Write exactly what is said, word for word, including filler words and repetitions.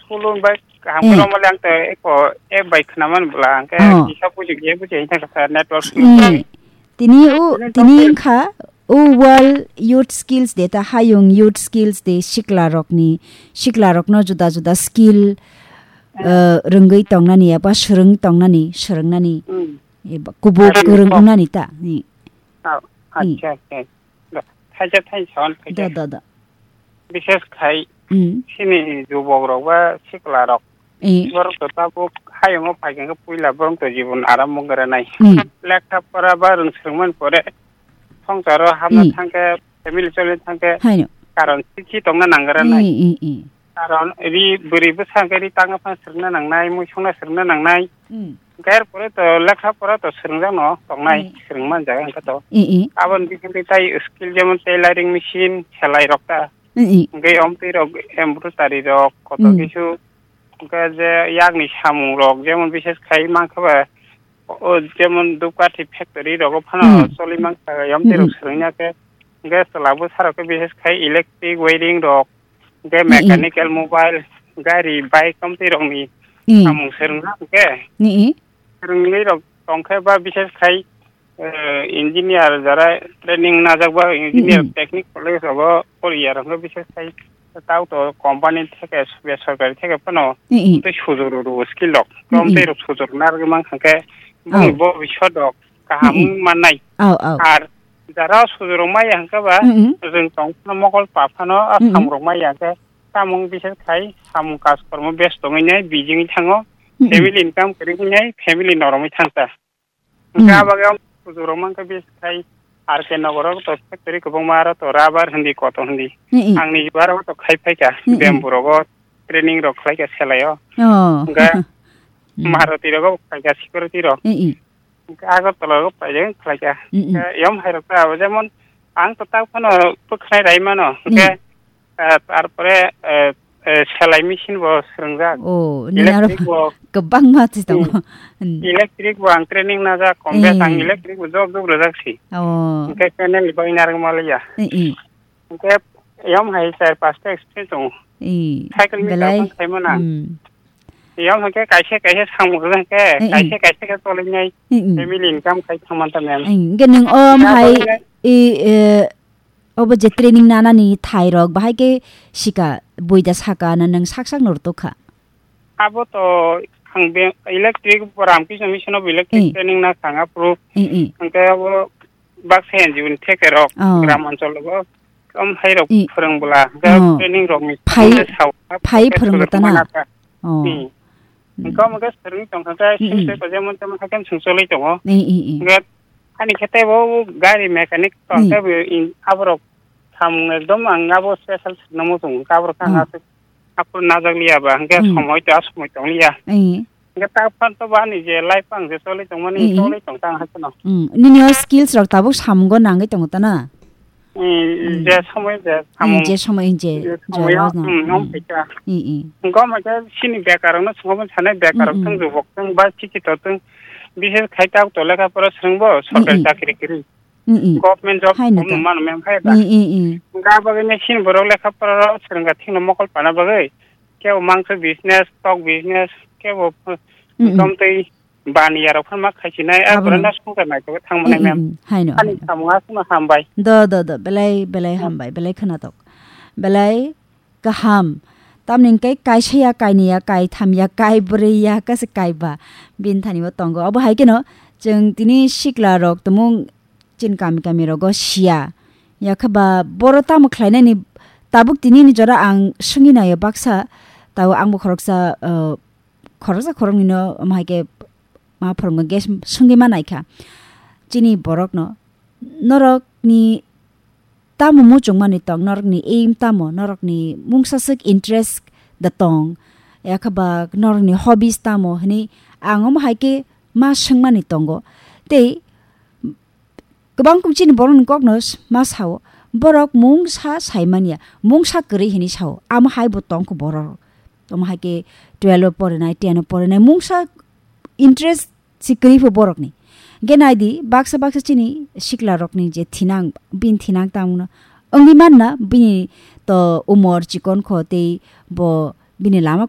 Kulun bai kaham Eh. Kwrwngma le ang to eko app bai khwnaman bwla hwnkhe Oh. Kisa buji kisa buji hwnkhe kha network Mm. Tini o, Tini tini topic wngkha o World Youth Skills Day ta hayung Youth Skills Day sikla rokni, sikla rokno juda juda skill, Eh. eh, rwngwi tongnani eba swrwng tongnani, swrwngnani, Mm. eba kubuk Ari kwrwng kok. Wngnani ta. Ni. Oh, Ni. Acha, acha. Da, thaisa thaisa hwn Da, khaisa. Da, da. Bishes khai Mm. Sini jubok rok ba sikla rok. Eh. Borok to tabuk hayungo phai khe puila borok to jibon arambo granai. Mm. Lekha pora ba rwng swrwngmani pore songsaro hamna Mm. thangkhe family choli thangkhe Haino. Karon sikhi tongna nangranai. Mm, mm, mm. Karon ri bwrwi bwsa hwnkhe ri tangna phano swrwngna nangnai, mui songna swrwngna nangnai. Mm. Hwnkhe er pore to lekha pora to swrwngjakno tongnai, Mm. Swrwngmani jaga hwnkhe to. Mm, mm. Aboni bisingtwi tai skill jemon tailoring machine, selai rok ta. Mm, mm. Hwnkhe omtwi rok embroidery rok kotor Mm. Kisu. Hwnkhe je yakni samung rok jemon bishes khai mankha ba, o, jemon Dhupkathi factory rogo phano Mm. Choli mankha, omtwi rok Mm, mm. Swrwngya khe. Hwnkhe chwla bwsa rok khe bishes khai electric wiring rok, hwnkhe Mm, mm. Mechanical mobile, gari, bike omtwi rokni Mm. Samung swrwngna hwnkhe. Mm, mm. Swrwngwi rok tongkhe ba bishes khai, eh, engineer jara training najak ba engineer Mm, mm. Technical college rogo poriya rok bishes khai tau to company theke besorkari theke phano Mm, mm. Tei sujuru ru skill rok Mm, mm. Tei rok sujuru narwgwi mankha khe Oh. Boni bobiswt rok kaham Mm, mm. Mannai. Oh, oh. Ar jara sujuru maya hwnkhe ba Mm, mm. Rwng tong phano mokol pa phano a Mm, mm. Samung rok maya hwnkhe samung bishes khai samung kaj kormo besto wngwi nai bijingwi thango Mm, mm. Family income kwrwi wngwi nai family noromwi thangkha. Hwnkhe Mm. Abagwi ang kuchuk rok mankha bisi khai R K Nagar o to factory kwbangma aro to rubber hindi koto hindi. Mm, mm. Ang ni aro to khai phaikha Mm, mm. Bamboo rogo training rok khlaikha selai o. Oh. Hwnkhe Mm. Maruti rogo khlaikha security rok. Mm, mm. Hwnkhe Agartala rogo paijak khlaikha. Mm, mm. Hwnkhe yom hai rok ta abo jemon ang to tak phano bwkhanai rai mano. Hwnkhe Mm. Eh, tarpore, eh, eh, selai machine bo swrwngjak. Oh, nini aro Electric bo. Kwbangma twi tongo. Hmm. Hmm. Electric bo ang training najak, kom bes ang Eh. Electric bo job job rwjak si. Oh. Hwnkhe channel ni bagwi narwk maliya. Eh, eh. Hwnkhe yom hai char pasta experience tongo. Eh, cycle meter belai. Phano khaimano ang. Hmm. Yom hwnkhe kaisa kaisa samung rwjak hwnkhe, Eh, eh. Kaisa kaisa khe cholinai. Eh, eh. Family income khai thangman ta mem. Eh, hwnkhe nwng om Abo hai, hwnkhe eh, eh, Obo je training nanani thairok, bahai khe sika, buida saka na nwng sak sak no rwtokha? Abo to ang be electric, Ramkrishna Mission of Electric Eh. Training na thang aphuru. Eh, eh. Hwnkhe abo baksa N G O ni thekerok, Oh. Gram anchol o, om hai rok Eh. Phwrwng bwla, hwnkhe Oh. Training rok ni Phai, somondo sao, phai phai phwrwng phwrwng tana? Mana ta. Oh. Hmm. Hmm. Hwnkhe omo khe swrwngwi tongkha khe, Mm, mm. Sengkhe ko jemon temon hakhe swng cholwi tongo. Mm, mm, mm. Hwnkhe ani khe teibo gari mechanic tong Mm. teibo in-, aborok samung ekdom ang abo special swrwngna muchungo. Hwnkhe aborok khe ang Oh. aswk aphuru najak liya ba, hwnkhe Mm. Somoi to asomoi tong liya. Mm. Hwnkhe ta phano to bo ani je life ang je cholwi tongmani Mm, mm. Cholwi tong tang hakhe no. Mm. Nini o skills rok tabuk samungo nangwi tongo ta na? Eh, Mm. Je somoi je Mm, samung. Je somoi je, Je je somoi rok o, no. Mm, Mm. Om phaikha. Mm, mm. Hwnkhe omo khe chini bekarokno swngo sanai, bekarok Mm, mm. Thung, jubok thung, ba sikhito thung, bishes khai tak to lekha pora swrwngbo, Mm, sorkari mm. Chakri kwrwi. Mm, mm. Government job Haino kom ta. Mano mem hai da. Mm, mm, mm. Hwnkhe abo bagwi chini borok lekha pora swrwngkha thikno mokol pana bagwi. Kebo mangso business, tok business, kebo Mm, mm. Tomtwi Baniya rok phano ma khaisinai, a Abono. Borok no songkha naitugwi thangmani Mm, mm, mem. Mm, haino, Ani haino. Samung aswkno hambai. Do, do, do, belai, belai Hmm. Hambai, belai khwnatok. Belai kaham. Tamni hwnkhe kaisa ya, kaini ya, kaitham ya, kaibrwi ya, kasa kaiba. Bini thani bo tongo. Obo hai kheno chwng tini sikla rok tumung chini kami kami rogo siya. Yakhe ba boro tamo khlainani tabuk tini ni jora ang swngwi naio baksa. Tao ang bo khoroksa, uh, khoroksa khoroknwino omo hai khe ma phwrwngma gas swngwi ma naikha chini borokno, norokni tamo muchungmani tong, norokni aim tamo, norokni mungsa swk interest da tong, yakhe ba norokni hobbies tamo hwnwi ang omo hai khe ma swngmani tongo. Tei kwbang kuk chini borokni kokno s-, ma sao, borok mungsa saimanya, mungsa kwrwi hinwi sao, amo hai bo tongkho borok. Omo hai khe twelve o porinai, ten o porinai, mungsa interest si kwrwi pho borokni. Hwnkhe naidi, baksa baksa chini sikla rokni je thinang, bini thinang tangno wngwi manna, bini to umor chikon kho tei bo bini lama